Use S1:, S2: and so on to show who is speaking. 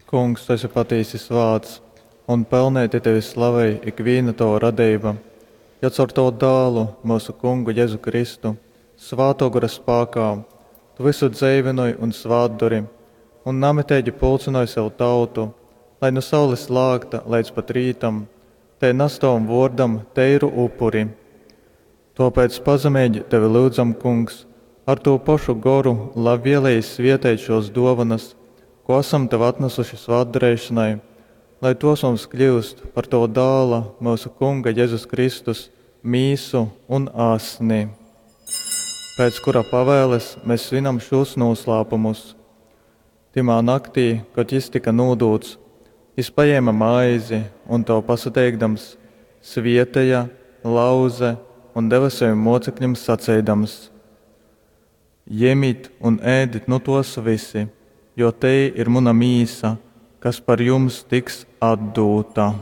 S1: Kungs, tu esi patīsi svāts, un pelneiti tevi slavej ikvīna tova radeiba, jo caur tovu Dālu, myusu Kungu Jezu Kristu, Svātō Gora spākā, tu vysu dzeivynoj un svātdori, un namiteigi pulcynoj sev tautu, lai nu saules lākta leidz pat rītam tei nas tovam vōrdam teiru upuri. Tōpēc pazemeigi tevi lyudzam, Kungs, ar tū pošu Goru labvieleji svieteit šōs dōvonas, kū asam tev atnasuši svātdareišonai, lai tōs mums kļyust par tova Dāla, myusu Kunga Jezus Kristus, mīsu un asni. Pēc kura pavēles mes svinam šūs nūslāpumus. Tymā naktī, kod jys tyka nūdūts, jys pajēme maizi un, tev pasateikdams, svieteja, lauze un deve sovim mōceklim saceidams, Jemit un ēdit nu tōs vysi, jo tei ir muna mīsa, kas par jums tiks atdūta.